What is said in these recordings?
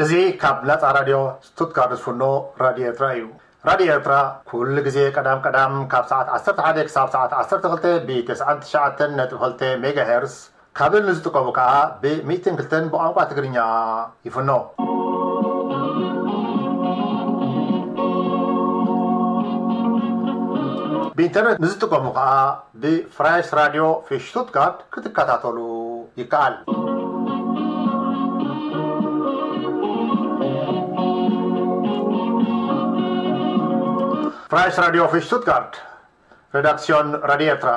እዚ ካብ ናጻ ራድዮ ስቱትጋርት ዝፍኖ ራድዮ ኤርትራ እዩ። ራድዮ ኤርትራ ኩሉ ግዜ ቀዳም ቀዳም ካብ ሰዓት ዓሰርተ ሓደ ክሳብ ሰዓት ዓሰርተ ክልተ ብ99.9 ሜጋሄርስ፣ ካብል ንዝጥቀሙ ከኣ ብ102 ብቋንቋ ትግርኛ ይፍኖ። ብኢንተርነት ንዝጥቀሙ ከኣ ብፍራይስ ራድዮ ፊሽ ስቱትጋርት ክትከታተሉ ይከኣል። ፍራይስ ራድዮ ፊሽ ስቱትጋርት፣ Redaktion Radio Ertra.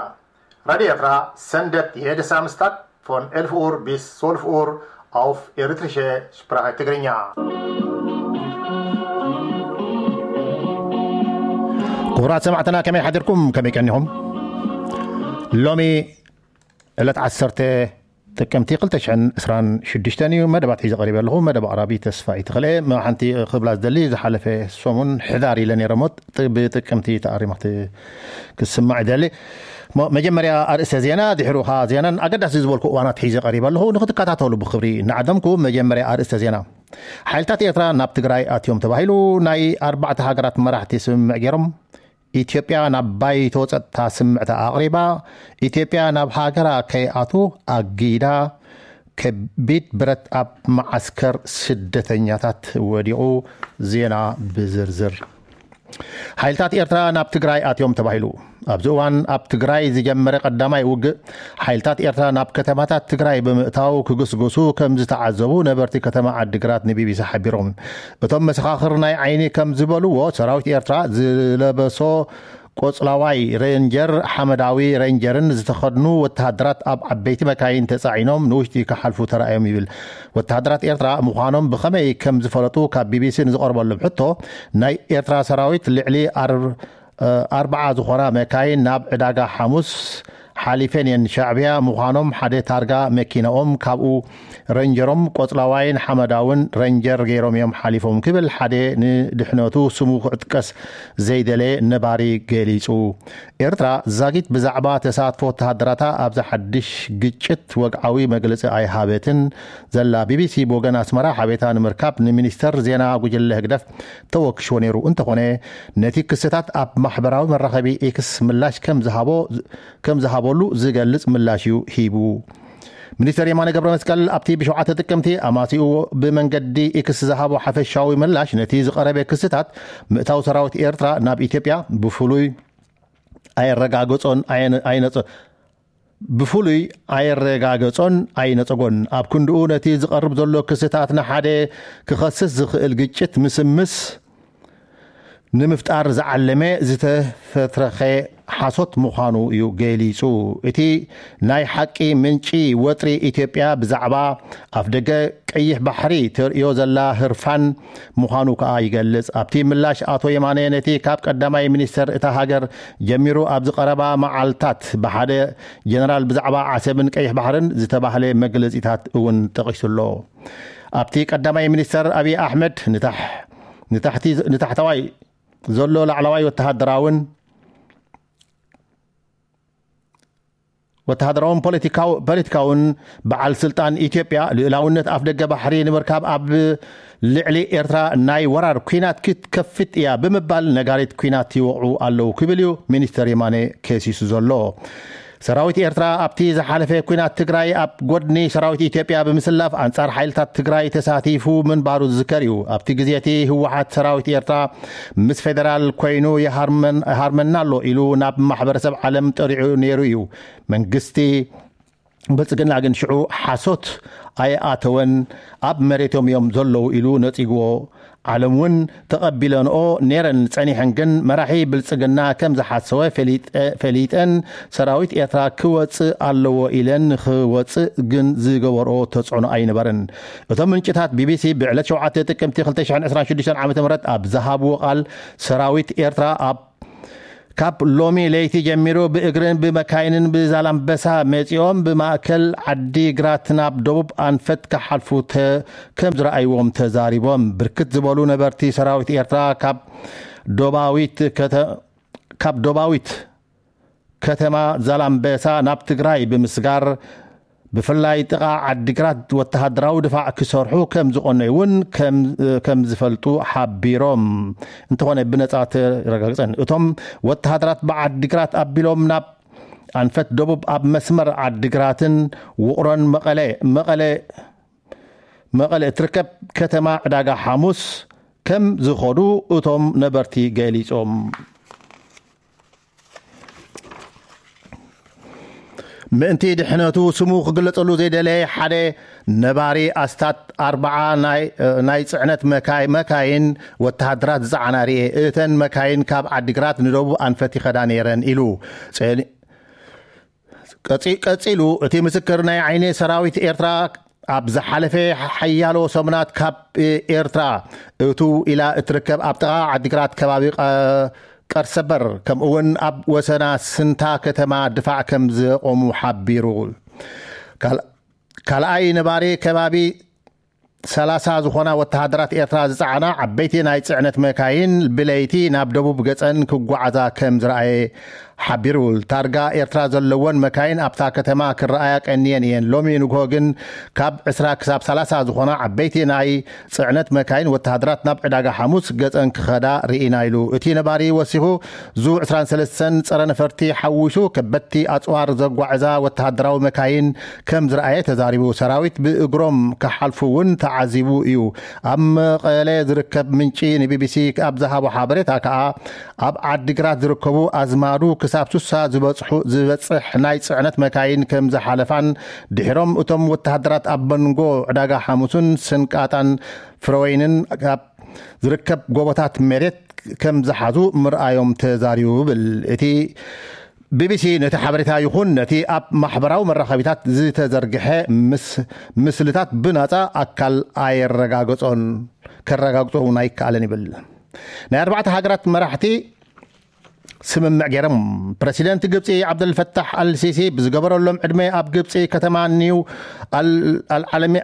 Radio Ertra sendet jede Samstag von elf Uhr bis zwölf Uhr auf Eritrische Sprache Tigrinya. ክቡራት ሰማዕትና፣ ከመይ ሓዲርኩም? ከመይ ቀኒኹም? ሎሚ ዕለት ዓሰርተ ጥቅምቲ ክልተ ሽሕን ዕስራን ሽዱሽተን እዩ። መደባት ሒዘ ቀሪበ ኣለኹ። መደብ ኣቕራቢ ተስፋ ይትኽልኤ። መ-፣ ሓንቲ ክብላ ዝደሊ፣ ዝሓለፈ ሰሙን ሕዳር ኢለ ነይረ እሞ፣ ጥ-፣ ብጥቅምቲ ተኣሪማ ክት-፣ ክስማዕ ይደሊ። ሞ-፣ መጀመርያ ኣርእስተ ዜና፣ ድሕሩ ኸኣ ዜናን ኣገዳሲ ዝበልኩ እዋናት ሒዘ ቀሪበ ኣለኹ። ንክትከታተሉ ብክብሪ እናዓደምኩ፣ መጀመርያ ኣርእስተ ዜና። ሓይልታት ኤርትራ ናብ ትግራይ ኣትዮም ተባሂሉ። ናይ ኣርባዕተ ሃገራት መራሕቲ ስምምዕ ገይሮም። ኢትዮጵያ ናብ ባይቶ ጸጥታ ስምዕታ ኣቕሪባ። ኢትዮጵያ ናብ ሃገራ ከይኣቱ ኣጊዳ። ከቢድ ብረት ኣብ መዓስከር ስደተኛታት ወዲቑ። ዜና ብዝርዝር። ሓይልታት ኤርትራ ናብ ትግራይ ኣትዮም ተባሂሉ። ኣብዚ እዋን ኣብ ትግራይ ዝጀመረ ቀዳማይ ውግእ፣ ሓይልታት ኤርትራ ናብ ከተማታት ትግራይ ብምእታው ክግስግሱ ከም ዝተዓዘቡ ነበርቲ ከተማ ዓዲግራት ንቢቢሲ ሓቢሮም። እቶም መሰኻኽር ናይ ዓይኒ ከም ዝበልዎ፣ ሰራዊት ኤርትራ ዝለበሶ ቆጽላዋይ ሬንጀር፣ ሓመዳዊ ሬንጀርን ዝተኸድኑ ወተሃደራት ኣብ ዓበይቲ መካይን ተጻዒኖም ንውሽጢ ክሓልፉ ተራእዮም ይብል። ወተሃደራት ኤርትራ ምዃኖም ብኸመይ ከም ዝፈለጡ ካብ ቢቢሲ ንዝቐርበሎም ሕቶ፣ ናይ ኤርትራ ሰራዊት ልዕሊ ኣር-፣ ኣርብዓ ዝኾና መካይን ናብ ዕዳጋ ሓሙስ ሓሊፈን እየን። ሻዕብያ ምዃኖም ሓደ ታርጋ መኪናኦም፣ ካብኡ ረንጀሮም ቆጽላዋይን ሓመዳውን ረንጀር ገይሮም እዮም ሓሊፎም ክብል ሓደ ንድሕነቱ ስሙ ክዕጥቀስ ዘይደለየ ነባሪ ገሊጹ። ኤርትራ ዛጊት ብዛዕባ ተሳትፎ ወተሃደራታ ኣብዚ ሓድሽ ግጭት ወግዓዊ መግለጺ ኣይሃበትን ዘላ። ቢቢሲ ብወገን ኣስመራ ሓቤታ ንምርካብ ንሚኒስተር ዜና ጉጅለ ህግደፍ ተወክሽዎ ነይሩ። እንተኾነ፣ ነቲ ክስታት ኣብ ማሕበራዊ መራኸቢ ኤክስ ምላሽ ከም ዝሃቦ፣ ከም ዝሃበሉ ዝገልጽ ምላሽ እዩ ሂቡ። ሚኒስተር የማነ ገብረ መስቀል ኣብቲ ብሸውዓተ ጥቅምቲ ኣማሲኡ ብመንገዲ ኤክስ ዝሃቦ ሓፈሻዊ ምላሽ፣ ነቲ ዝቐረበ ክስታት ምእታው ሰራዊት ኤርትራ ናብ ኢትዮጵያ ብፍሉይ ኣየረጋገጾን ኣየነ-፣ ኣይነጸ-፣ ብፍሉይ ኣየረጋገጾን ኣይነጸጎን። ኣብ ክንድኡ፣ ነቲ ዝቐርብ ዘሎ ክስታት ንሓደ ክኸስስ ዝኽእል ግጭት ምስምስ ንምፍጣር ዝዓለመ ዝተፈትረኸ ሓሶት ምዃኑ እዩ ገሊጹ። እቲ ናይ ሓቂ ምንጪ ወጥሪ፣ ኢትዮጵያ ብዛዕባ ኣፍደገ ቀይሕ ባሕሪ ተርእዮ ዘላ ህርፋን ምዃኑ ከኣ ይገልጽ። ኣብቲ ምላሽ፣ ኣቶ የማነ ነቲ ካብ ቀዳማይ ሚኒስተር እታ ሃገር ጀሚሩ ኣብዚ ቀረባ መዓልታት ብሓደ ጀነራል ብዛዕባ ዓሰብን ቀይሕ ባሕርን ዝተባህለ መግለጺታት እውን ጠቒሱ ኣሎ። ኣብቲ ቀዳማይ ሚኒስተር ኣብይ ኣሕመድ ንታሕ-፣ ንታሕቲ-፣ ንታሕተዋይ ዘሎ ላዕለዋይ ወተሃደራውን ወተሃደራውን ፖለቲካው-፣ ፖለቲካውን በዓል ስልጣን ኢትዮጵያ ልኡላውነት ኣፍደገ ባሕሪ ንምርካብ ኣብ ልዕሊ ኤርትራ ናይ ወራር ኲናት ክትከፍት እያ ብምባል ነጋሪት ኲናት ይወቕዑ ኣለዉ ክብል እዩ ሚኒስተር የማነ ከሲሱ ዘሎ። ሰራዊት ኤርትራ ኣብቲ ዝሓለፈ ኲናት ትግራይ ኣብ ጎድኒ ሰራዊት ኢትዮጵያ ብምስላፍ ኣንጻር ሓይልታት ትግራይ ተሳቲፉ ምንባሩ ዝዝከር እዩ። ኣብቲ ግዜ እቲ ህወሓት ሰራዊት ኤርትራ ምስ ፌደራል ኮይኑ ይሃርመን-፣ ይሃርመና ኣሎ ኢሉ ናብ ማሕበረሰብ ዓለም ጠሪዑ ነይሩ እዩ። መንግስቲ ብልጽግና ግን ሽዑ ሓሶት ኣይኣተወን፣ ኣብ መሬቶም እዮም ዘለዉ ኢሉ ነጺግዎ። ዓለም እውን ተቐቢለንኦ ነይረን ጸኒሐን፣ ግን መራሒ ብልጽግና ከም ዝሓሰወ ፈሊጠ-፣ ፈሊጠን ሰራዊት ኤርትራ ክወጽእ ኣለዎ ኢለን ንኽወጽእ ግን ዝገበርኦ ተጽዕኖ ኣይነበረን። እቶም ምንጭታት ቢቢሲ ብዕለት ሸውዓተ ጥቅምቲ ክልተ ሽሕን ዕስራን ሽዱሽተን ዓመተ ምህረት ኣብ ዝሃብዎ ቃል፣ ሰራዊት ኤርትራ ኣብ ካብ ሎሚ ለይቲ ጀሚሩ ብእግርን ብመካይንን ብዛላምበሳ መጺኦም ብማእከል ዓዲ ግራት ናብ ደቡብ ኣንፈት ክሓልፉ ተ-፣ ከም ዝረኣይዎም ተዛሪቦም። ብርክት ዝበሉ ነበርቲ ሰራዊት ኤርትራ ካብ ዶባዊት ከተ-፣ ካብ ዶባዊት ከተማ ዛላምበሳ ናብ ትግራይ ብምስጋር ብፍላይ ጥቓ ዓዲግራት ወተሃደራዊ ድፋዕ ክሰርሑ ከም ዝቐነዩ እውን ከም ዝፈልጡ ሓቢሮም። እንተኾነ ብነጻ ተረጋግጸን እቶም ወተሃደራት ብዓዲግራት ኣቢሎም ናብ ኣንፈት ደቡብ ኣብ መስመር ዓዲግራትን ውቕሮን መቐለ መቐለ መቐለ እትርከብ ከተማ ዕዳጋ ሓሙስ ከም ዝኸዱ እቶም ነበርቲ ገሊጾም። ምእንቲ ድሕነቱ ስሙ ክግለጸሉ ዘይደለየ ሓደ ነባሪ ኣስታት ኣርባዓ ናይ ጽዕነት መካይን ወተሃደራት ዝጸዓና ርኤ። እተን መካይን ካብ ዓዲግራት ንደቡብ ኣንፈት ይኸዳ ነይረን ኢሉ። ቀጺሉ እቲ ምስክር ናይ ዓይኒ ሰራዊት ኤርትራ ኣብ ዝሓለፈ ሓያሎ ሰሙናት ካብ ኤርትራ እቱ ኢላ እትርከብ ኣብ ጥቓ ዓዲግራት ከባቢ ቀርሰበር ከምኡውን ኣብ ወሰና ስንታ ከተማ ድፋዕ ከም ዘቆሙ ሓቢሩ። ካልኣይ ነባሪ ከባቢ ሰላሳ ዝኾና ወተሃደራት ኤርትራ ዝጸዓና ዓበይቲ ናይ ጽዕነት መካይን ብለይቲ ናብ ደቡብ ገጸን ክጓዓዛ ከም ዝረኣየ ሓቢሩ። ታርጋ ኤርትራ ዘለወን መካይን ኣብታ ከተማ ክረኣያ ቀንየን እየን። ሎሚ ንግሆ ግን ካብ ዕስራ ክሳብ ሰላሳ ዝኾና ዓበይቲ ናይ ጽዕነት መካይን ወተሃደራት ናብ ዕዳጋ ሓሙስ ገጸን ክኸዳ ርኢና ኢሉ። እቲ ነባሪ ወሲኹ ዙ ዕስራን ሰለስተን ጸረ ነፈርቲ ሓዊሱ ከበድቲ ኣጽዋር ዘጓዕዛ ወተሃደራዊ መካይን ከም ዝረኣየ ተዛሪቡ። ሰራዊት ብእግሮም ክሓልፉ እውን ተዓዚቡ እዩ። ኣብ መቐለ ዝርከብ ምንጪ ንቢቢሲ ኣብ ዝሃቦ ሓበሬታ ከኣ ኣብ ዓዲግራት ዝርከቡ ኣዝማዱ ክሳብ ሱሳ ዝበጽሑ ዝበጽሕ ናይ ጽዕነት መካይን ከም ዝሓለፋን ድሕሮም እቶም ወተሃደራት ኣብ መንጎ ዕዳጋ ሓሙስን ስንቃጣን ፍረወይንን ኣብ ዝርከብ ጎቦታት መሬት ከም ዝሓዙ ምርኣዮም ተዛሪቡ ይብል። እቲ ቢቢሲ ነቲ ሓበሬታ ይኹን ነቲ ኣብ ማሕበራዊ መራኸቢታት ዝተዘርግሐ ምስልታት ብናጻ ኣካል ኣየረጋገጾን ከረጋግጾ እውን ኣይከኣለን ይብል። ናይ ኣርባዕተ ሃገራት መራሕቲ ስምምዕ ገይሮም። ፕረሲደንት ግብፂ ዓብደልፈታሕ ኣልሲሲ ብዝገበረሎም ዕድመ ኣብ ግብፂ ከተማ ኒው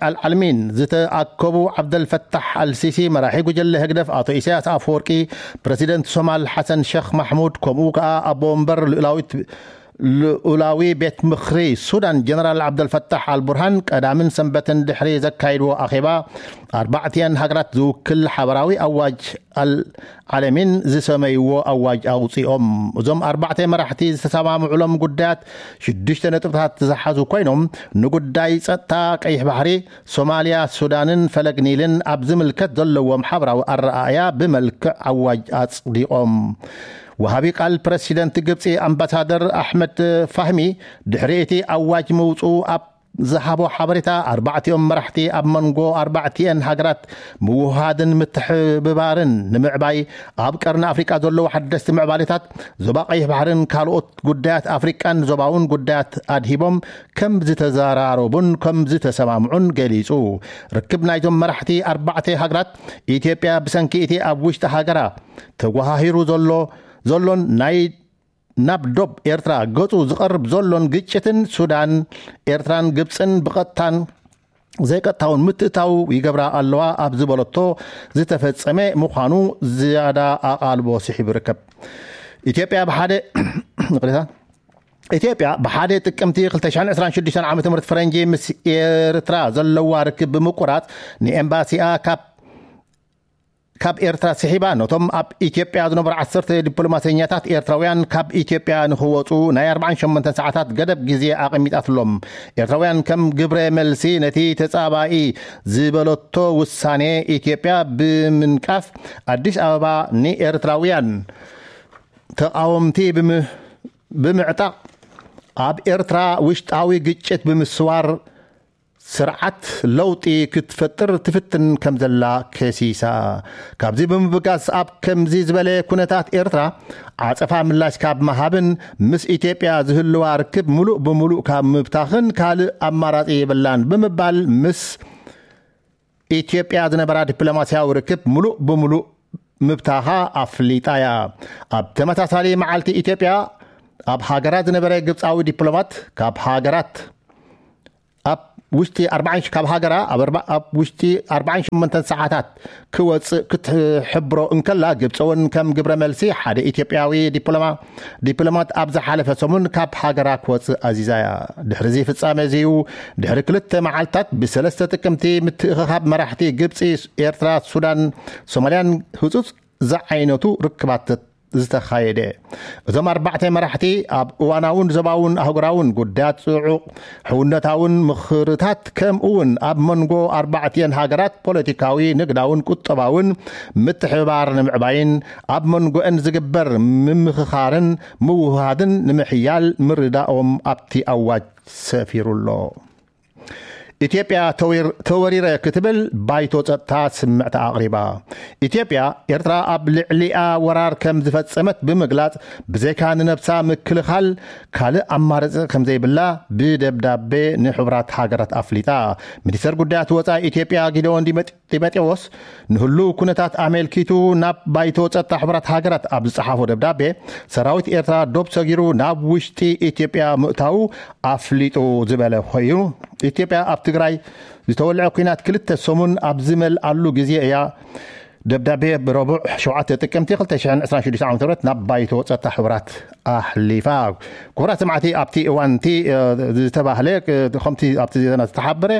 ኣልዓልሚን ዝተኣከቡ ዓብደልፈታሕ ኣልሲሲ፣ መራሒ ጉጀለ ህግደፍ ኣቶ ኢሳያስ ኣፈወርቂ፣ ፕረሲደንት ሶማል ሓሰን ሸኽ ማሕሙድ ከምኡ ከዓ ኣቦ ወንበር ልኡላዊት ልኡላዊ ቤት ምኽሪ ሱዳን ጀነራል ዓብደልፈታሕ ኣልቡርሃን ቀዳምን ሰንበትን ድሕሪ ዘካይድዎ ኣኼባ ኣርባዕቲኣን ሃገራት ዝውክል ሓበራዊ ኣዋጅ ኣልዓለሚን ዝሰመይዎ ኣዋጅ ኣውፂኦም። እዞም ኣርባዕተ መራሕቲ ዝተሰማምዑሎም ጉዳያት ሽዱሽተ ነጥብታት ዝሓዙ ኮይኖም ንጉዳይ ፀጥታ ቀይሕ ባሕሪ፣ ሶማልያ፣ ሱዳንን ፈለግ ኒልን ኣብ ዝምልከት ዘለዎም ሓበራዊ ኣረኣእያ ብመልክዕ ኣዋጅ ኣፅዲቖም። ወሃቢ ቃል ፕረሲደንት ግብፂ ኣምባሳደር ኣሕመድ ፋህሚ ድሕሪ እቲ ኣዋጅ ምውፅኡ ኣብ ዝሃቦ ሓበሬታ ኣርባዕቲኦም መራሕቲ ኣብ መንጎ ኣርባዕቲኤን ሃገራት ምውሃድን ምትሕብባርን ንምዕባይ ኣብ ቀርኒ ኣፍሪቃ ዘለዉ ሓደስቲ ምዕባሌታት ዞባ ቀይሕ ባሕርን ካልኦት ጉዳያት ኣፍሪቃን ዞባውን ጉዳያት ኣድሂቦም ከም ዝተዘራረቡን ከም ዝተሰማምዑን ገሊጹ። ርክብ ናይዞም መራሕቲ ኣርባዕተ ሃገራት ኢትዮጵያ ብሰንኪ እቲ ኣብ ውሽጢ ሃገራ ተጓሃሂሩ ዘሎ ዘሎን ናይ ናብ ዶብ ኤርትራ ገጹ ዝቐርብ ዘሎን ግጭትን ሱዳን፣ ኤርትራን ግብጽን ብቐጥታን ዘይቀጥታውን ምትእታው ይገብራ ኣለዋ ኣብ ዝበለቶ ዝተፈጸመ ምዃኑ ዝያዳ ኣቓልቦ ስሒቡ ይርከብ። ኢትዮጵያ ብሓደ ይቕሬታ፣ ኢትዮጵያ ብሓደ ጥቅምቲ ክልተ ሽሕን ዕስራን ሽዱሽተን ዓመተ ምህረት ፈረንጂ ምስ ኤርትራ ዘለዋ ርክብ ብምቁራጽ ንኤምባሲኣ ካብ ካብ ኤርትራ ስሒባ ነቶም ኣብ ኢትዮጵያ ዝነበሩ ዓሰርተ ዲፕሎማሰኛታት ኤርትራውያን ካብ ኢትዮጵያ ንኽወፁ ናይ ኣርባዓን ሸሞንተን ሰዓታት ገደብ ግዜ ኣቐሚጣትሎም። ኤርትራውያን ከም ግብረ መልሲ ነቲ ተጻባኢ ዝበለቶ ውሳኔ ኢትዮጵያ ብምንቃፍ ኣዲስ ኣበባ ንኤርትራውያን ተቓወምቲ ብምዕጣቕ ኣብ ኤርትራ ውሽጣዊ ግጭት ብምስዋር ስርዓት ለውጢ ክትፈጥር ትፍትን ከም ዘላ ከሲሳ። ካብዚ ብምብጋስ ኣብ ከምዚ ዝበለ ኩነታት ኤርትራ ዓጸፋ ምላሽ ካብ ምሃብን ምስ ኢትዮጵያ ዝህልዋ ርክብ ምሉእ ብምሉእ ካብ ምብታኽን ካልእ ኣማራጺ የብላን ብምባል ምስ ኢትዮጵያ ዝነበራ ዲፕሎማስያዊ ርክብ ምሉእ ብምሉእ ምብታኻ ኣፍሊጣ እያ። ኣብ ተመሳሳሊ መዓልቲ ኢትዮጵያ ኣብ ሃገራ ዝነበረ ግብጻዊ ዲፕሎማት ካብ ሃገራት ኣብ ውሽጢ ኣርባዓን ካብ ሃገራ ኣብ ኣርባ- ኣብ ውሽጢ ኣርባዓን ሸሞንተን ሰዓታት ክወፅእ ክትሕብሮ እንከላ፣ ግብፂ እውን ከም ግብረ መልሲ ሓደ ኢትዮጵያዊ ዲፕሎማ- ዲፕሎማት ኣብ ዝሓለፈ ሰሙን ካብ ሃገራ ክወፅእ ኣዚዛ እያ። ድሕሪ እዚ ፍጻመ እዚ እዩ፣ ድሕሪ ክልተ መዓልታት ብሰለስተ ጥቅምቲ ምትእኽኻብ መራሕቲ ግብፂ፣ ኤርትራ፣ ሱዳን፣ ሶማልያን ህፁፅ ዝዓይነቱ ርክባት ዝተኻየደ። እዞም ኣርባዕተ መራሕቲ ኣብ እዋናውን ዞባውን ኣህጉራውን ጉዳያት ጽዑቕ ሕውነታውን ምኽርታት፣ ከምኡ እውን ኣብ መንጎ ኣርባዕቲአን ሃገራት ፖለቲካዊ፣ ንግዳውን ቁጠባውን ምትሕብባር ንምዕባይን ኣብ መንጎአን ዝግበር ምምኽኻርን ምውህሃድን ንምሕያል ምርዳኦም ኣብቲ ኣዋጅ ሰፊሩ ኣሎ። ኢትዮጵያ ተወር- ተወሪረ ክትብል ባይቶ ጸጥታ ስምዕታ ኣቕሪባ። ኢትዮጵያ ኤርትራ ኣብ ልዕሊኣ ወራር ከም ዝፈጸመት ብምግላጽ፣ ብዘይካ ንነብሳ ምክልኻል ካልእ ኣማራጺ ከም ዘይብላ ብደብዳቤ ንሕቡራት ሃገራት ኣፍሊጣ። ሚኒስተር ጉዳያት ወጻኢ ኢትዮጵያ ጊደዎን ዲመ- ጢሞቴዎስ ንህሉው ኩነታት ኣመልኪቱ ናብ ባይቶ ጸጥታ ሕቡራት ሃገራት ኣብ ዝጸሓፎ ደብዳቤ፣ ሰራዊት ኤርትራ ዶብ ሰጊሩ ናብ ውሽጢ ኢትዮጵያ ምእታዉ ኣፍሊጡ ዝበለ ኮይኑ፣ ኢትዮጵያ ኣብ ትግራይ ዝተወልዐ ኲናት ክልተ ሰሙን ኣብ ዝመልኣሉ ግዜ እያ ደብዳቤ ብረቡዕ ሸውዓተ ጥቅምቲ ክልተ ሽሕን ዕስራን ሽዱሽተ ዓመተ ምህረት ናብ ባይቶ ጸጥታ ሕቡራት ኣሕሊፋ። ክቡራት ሰማዕቲ፣ ኣብቲ እዋን እቲ ዝተባህለ ከምቲ ኣብቲ ዜና ዝተሓበረ፣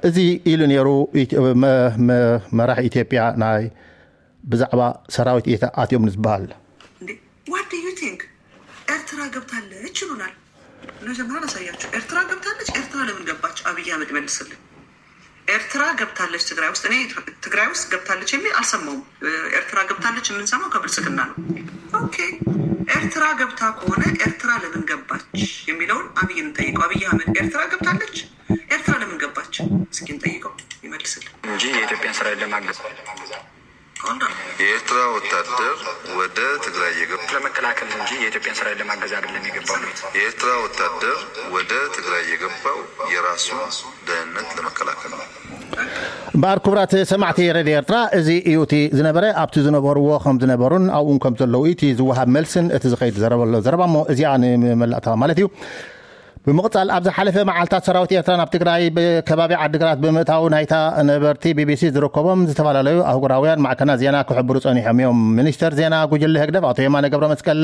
እዚ ኢሉ ነይሩ። መራሒ ኢትዮጵያ ናይ ብዛዕባ ሰራዊት ኢታ ኣትዮም ዝበሃል። What do you think? ኤርትራ ገብታለች ይሉናል። መጀመሪያ ላሳያችሁ። ኤርትራ ገብታለች። ኤርትራ ለምን ገባች? አብይ አህመድ መልስልኝ። ኤርትራ ገብታለች ትግራይ ውስጥ። እኔ ትግራይ ውስጥ ገብታለች የሚል አልሰማውም። ኤርትራ ገብታለች የምንሰማው ከብልጽግና ነው። ኦኬ፣ ኤርትራ ገብታ ከሆነ ኤርትራ ለምን ገባች የሚለውን አብይን እንጠይቀው። አብይ አህመድ ኤርትራ ገብታለች፣ ኤርትራ ለምን ገባች እስኪ እንጠይቀው፣ ይመልስልን። እንጂ የኢትዮጵያን ሰራዊት ለማገዝ Hold on. የኤርትራ ወታደር ወደ ትግራይ የገባ ለመከላከል እንጂ የኢትዮጵያን ሰራዊት ለማገዝ አይደለም የገባው። የኤርትራ ወታደር ወደ ትግራይ የገባው የራሱን ደህንነት ለመከላከል ነው። እምበኣር ክቡራት ሰማዕቲ ሬድዮ ኤርትራ፣ እዚ እዩ እቲ ዝነበረ። ኣብቲ ዝነበርዎ ከም ዝነበሩን ኣብኡን ከም ዘለዉ እቲ ዝወሃብ መልስን እቲ ዝኸይድ ዘረበሎ ዘረባ እሞ እዚኣ ንመላእታ ማለት እዩ። ብምቕጻል ኣብ ዝሓለፈ መዓልታት ሰራዊት ኤርትራ ናብ ትግራይ ብከባቢ ዓድግራት ብምእታው ናይታ ነበርቲ ቢቢሲ ዝርከቦም ዝተፈላለዩ ኣህጉራውያን ማዕከናት ዜና ክሕብሩ ጸኒሖም እዮም። ሚኒስተር ዜና ጉጅለ ህግደፍ ኣቶ የማነ ገብረ መስቀል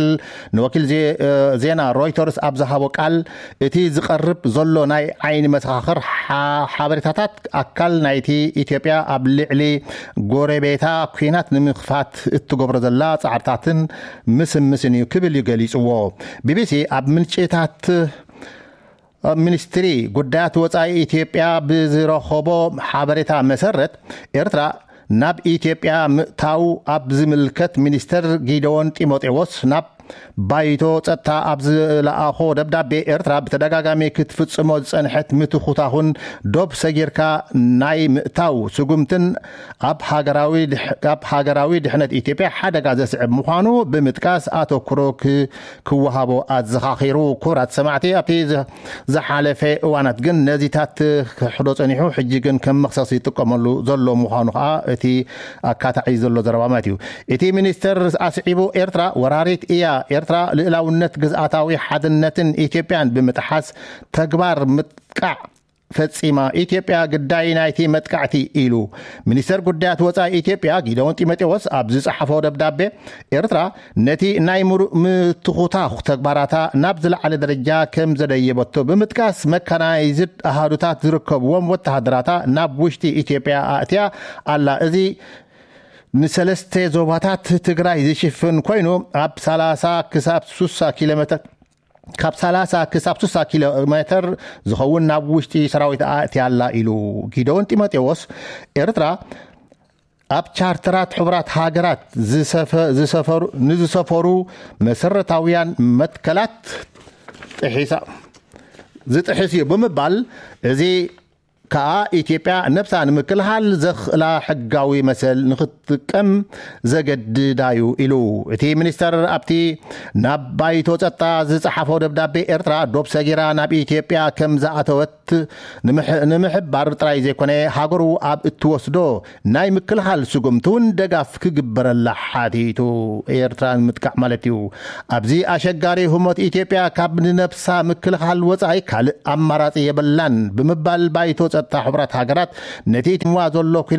ንወኪል ዜ- ዜና ሮይተርስ ኣብ ዝሃቦ ቃል፣ እቲ ዝቐርብ ዘሎ ናይ ዓይኒ መሰኻኽር ሓ- ሓበሬታታት ኣካል ናይቲ ኢትዮጵያ ኣብ ልዕሊ ጎረቤታ ኲናት ንምኽፋት እትገብሮ ዘላ ጻዕርታትን ምስምስን እዩ ክብል እዩ ገሊጽዎ። ቢቢሲ ኣብ ምንጭታት ሚኒስትሪ ጉዳያት ወጻኢ ኢትዮጵያ ብዝረኸቦ ሓበሬታ መሰረት፣ ኤርትራ ናብ ኢትዮጵያ ምእታው ኣብ ዝምልከት ሚኒስተር ጊደዎን ጢሞቴዎስ ናብ ባይቶ ጸጥታ ኣብ ዝለኣኾ ደብዳቤ፣ ኤርትራ ብተደጋጋሚ ክትፍጽሞ ዝጸንሐት ምትኹታኹን ዶብ ሰጊርካ ናይ ምእታው ስጉምትን ኣብ ሃገራዊ ድሕ- ኣብ ሃገራዊ ድሕነት ኢትዮጵያ ሓደጋ ዘስዕብ ምዃኑ ብምጥቃስ ኣተኩሮ ክ- ክወሃቦ ኣዘኻኺሩ። ክቡራት ሰማዕቲ፣ ኣብቲ ዝ- ዝሓለፈ እዋናት ግን ነዚታት ክሕዶ ጸኒሑ፣ ሕጂ ግን ከም መኽሰስ ይጥቀመሉ ዘሎ ምዃኑ ከኣ እቲ ኣካታዒ ዘሎ ዘረባ ማለት እዩ። እቲ ሚኒስተር ኣስዒቡ፣ ኤርትራ ወራሪት እያ፣ ኤርትራ ልእላውነት ግዝኣታዊ ሓድነትን ኢትዮጵያን ብምጥሓስ ተግባር ምጥቃዕ ፈጺማ፣ ኢትዮጵያ ግዳይ ናይቲ መጥቃዕቲ ኢሉ። ሚኒስተር ጉዳያት ወጻኢ ኢትዮጵያ ጊደዎን ጢሞቴዎስ ኣብ ዝጸሓፎ ደብዳቤ፣ ኤርትራ ነቲ ናይ ምሩእ ምትኹታኹ ተግባራታ ናብ ዝለዓለ ደረጃ ከም ዘደየበቶ ብምጥቃስ፣ መካናይዝድ ኣሃዱታት ዝርከብዎም ወተሃደራታ ናብ ውሽጢ ኢትዮጵያ ኣእትያ ኣላ። እዚ ንሰለስተ ዞባታት ትግራይ ዝሽፍን ኮይኑ፣ ኣብ ሰላሳ ክሳብ ሱሳ ኪሎ ሜትር ካብ ሰላሳ ክሳብ ሱሳ ኪሎ ሜትር ዝኸውን ናብ ውሽጢ ሰራዊት ኣእትያ ኣላ ኢሉ። ጊደዎን ጢሞቴዎስ፣ ኤርትራ ኣብ ቻርተራት ሕቡራት ሃገራት ዝሰፈ- ዝሰፈሩ- ንዝሰፈሩ መሰረታውያን መትከላት ጥሒሳ ዝጥሕስ እዩ ብምባል፣ እዚ ከኣ ኢትዮጵያ ነብሳ ንምክልኻል ዘኽእላ ሕጋዊ መሰል ንኽትጥቀም ዘገድዳ እዩ ኢሉ። እቲ ሚኒስተር ኣብቲ ናብ ባይቶ ጸጥታ ዝጸሓፎ ደብዳቤ፣ ኤርትራ ዶብ ሰጊራ ናብ ኢትዮጵያ ከም ዝኣተወት ንምሕባር ጥራይ ዘይኮነ፣ ሃገሩ ኣብ እትወስዶ ናይ ምክልኻል ስጉምቲ እውን ደጋፍ ክግበረላ ሓቲቱ። ኤርትራ ንምጥቃዕ ማለት እዩ። ኣብዚ ኣሸጋሪ ህሞት፣ ኢትዮጵያ ካብ ንነብሳ ምክልኻል ወጻኢ ካልእ ኣማራጺ የብላን ብምባል፣ ባይቶ ጸጥታ ሕቡራት ሃገራት ነቲ ትንዋ ዘሎ